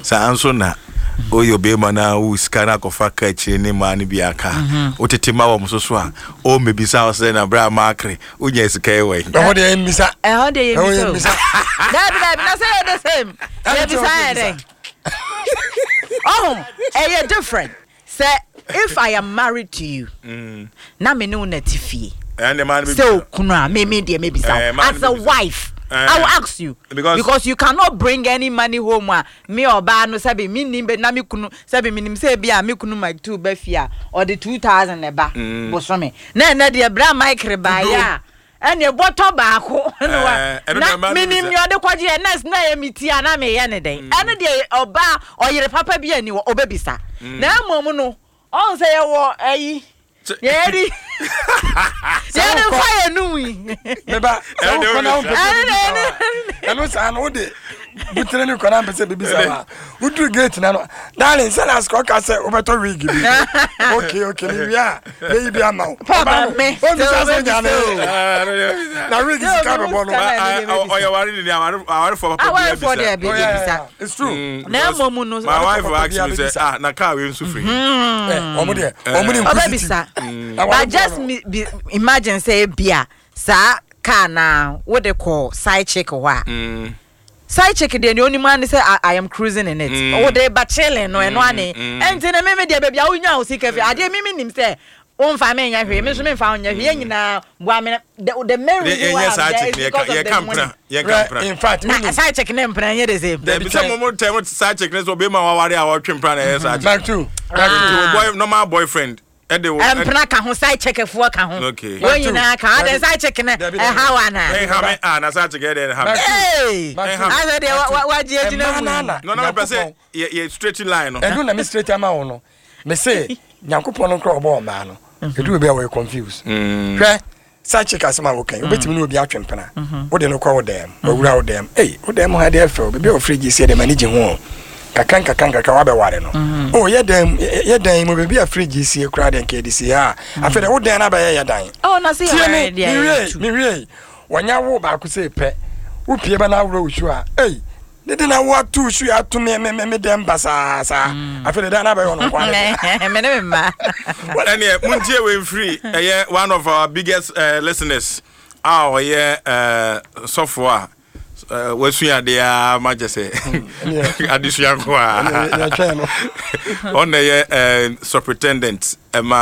Saa nso na woyɛ ɔbarima na wo sika no akɔfa ka akyire ne mmaa no bi aka a, wotete ma wɔn so so a, ɔmmɛbisa wo sɛ na berɛ a maakere wonya sika yi wɔ he? Ɛhɔ deɛ yɛmmisa. Ɛhɔ deɛ Ɛhɔ yɛmmisa o. yɛmmisa. Daabi daabi na sɛ yɛ the same. Ɛne kyerɛ Yɛbisa yɛ sɛ dɛn? Ɔho ɛyɛ different sɛ if I am married to you na me ne wo na te fie Ɛne mmaa no sɛ bɛbisa. okunu a me deɛ mebisa Eh, wo mmaa as no a bɛbisa. wife. Eh. I will ask you Because- you cannot bring any money home a me ɔbaa no sɛbi me nim na me kunu sɛbi me nim sɛ ebi a me kunu Mike two bɛ fie a ɔde 2,000 na ɛba bosome na ɛnɛ deɛ bra Mike rebaayɛ a ɛne bɔtɔ baako na wa Eh, ɛno na deɛ mmaa no menim bisa. nea ɔde kɔgye yɛ nurse na ɛyɛ me ti a na meyɛ ne dɛn. Ɛno deɛ ɔbaa ɔyere papa bi ani wɔ ɔbɛbisa na mmom no ɔn sɛ yɛwɔ ayi yɛde yɛde fa yɛ num yi. Meba sɛ Ɛno wokɔ na deɛ wompɛ sɛ bibisa wa ɛno saa no wode butere ne kɔ na mpɛ sɛ bibisa wa woduru gate na no, darling, sɛ last kɔ ɔka sɛ wobɛtɔ wig bi. Okay, mewie a mɛyi bi ama wo. Papa, Ɔba no, me, ɔmmisa sɛ sɛ wonya ne wobɛbisa Ah, ɛno deɛ bɛbisa. na wig Sɛ sika obi bɛbɔ no. sika na ɛno deɛ bɛbisa. Ɔyɛ ware ne awarefoɔ papa bi Awarefoɔ deɛ abisa. bi Oh, yeah, bɛbisa. yeah. It's true. Na mmom no My wife Papa asked bi me sɛ, abɛbisa. ah, na car wei nso firi he? Eh, ɔmo deɛ ɔmo ne ɔbɛbisa. Na But warefoɔ just no. me, be, imagine sɛ ebia saa car na wode kɔ side chick hɔ a, side chick deɛ nea onim ani sɛ I am cruising in it. Wode ba chilling no ɛno ane ɛnti ne mimi deɛ baabi a wonya wo sika fi adeɛ mimi nim sɛ womfa me nyɛ hwee, me nso memfa wo nyɛ hwee, yɛn nyinaa boa me. The main reason why Yɛnyɛ I'm saa there chick is no because of yɛka the money. mpena yɛka Right, in mpena. fact, Na wonim side chick ne mpena nyɛ the same. Dabi sɛ mo tɛ mo side chick ne sɛ ɔbɛma waware a ɔtwe mpena na ɛyɛ side chick. Back to back to Nti wo boy normal boyfriend ɛde wo Mpena ka ho, side chick foɔ ka ho. Okay. Wɔn nyinaa ka ho. Adan side chick ne Dabi, dabi. ɛha wa na? Ɛnha me ah na side chick ɛyɛ dɛ ɛnha me. Hey! Back to- Asɛ deɛ wagye agyina Ɛmmaa mu no yi. ana No na mepɛ sɛ Nyankopɔn- yɛ straight line no. Ɛno na me straight ama wo no. Me se Nyankopɔn no kora ɔbɔ ɔmaa no ɛduru bi a wɔyɛ confused. Hwɛ, side chick asɛm a wokan, wobɛtumi ne obi atwe mpena, wode no kɔ wo dɛm, wawura wo dɛm, ei, wo dɛm ha deɛ fɛw, baabi a wɔfiri gye sie deɛ m'ani gye ho o. Kakra nkakra nkakra wabɛware no o, yɛ dɛm yɛ dan mu baabi a fridge sie koraa deɛ nka yɛde sie ha a, afei deɛ wo dan no abɛyɛ yɛ dan. Oh, na sɛ tie yɛware me. deɛ Mewie. yɛtu. Mewie, wɔnya wo baako sɛ pɛ wopie ba no aworɔ wo su a, ei, ne de na woato su ato me dɛm basaa saa, afei de dan no abɛyɛ ɔno nko ara deɛ. Me ne me mma. Ɛneɛ montie wei mfiri ɛyɛ one of our biggest listeners a ɔyɛ sɔfoɔ a wasua adeɛ a ma kyɛ sɛ adesua nko a Ɛneɛ yɛtwɛn no. Ɔna ɛyɛ superintendent ɛma